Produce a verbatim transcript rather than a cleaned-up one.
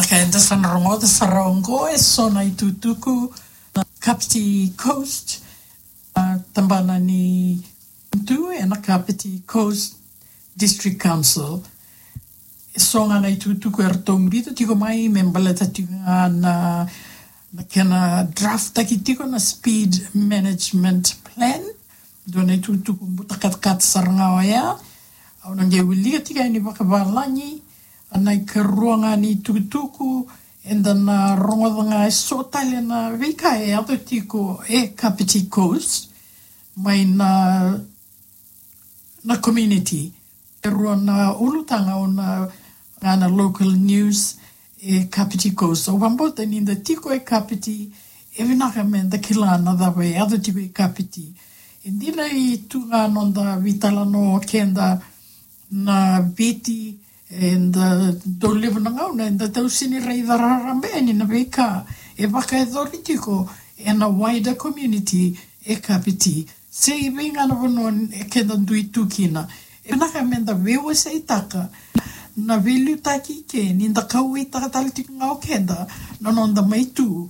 Ka eda sa na rogoca sara oqo e so na itukutuku na Kapiti Coast, a, tabana ni tu e na Kapiti Coast District Council. E so ga na itukutuku eratou biuta tiko mai me baleta tiko ga na, na kena draft taki tiko na speed management plan. Dua na itukutuku buta katakata sara ga oya. Au na qai wilika tiko yani vakavalagi na ikarua ga ni itukutuku, eda na rogoca ga e so tale na veika e yaco tiko e Kapiti Coast mai na, na community. E rua na ulutaga o na ga na local news e Kapiti Coast. Au vakabauta ni da tiko e Kapiti, e vinaka me da kila na cava e yaco tiko e Kapiti. E dina e tu ga noda veitalanoa keda na Viti, eda dau levu na gauna eda tau sega ni raica raraba yani na veika e vakayacori tiko e na wider community e Kapiti. Se i vei ga na vanua e keda dui tu kina. E vinaka me da veiwaseitaka na veiliutaki ke ni da kauwaitaka tale tiko ga o keda na noda mai tu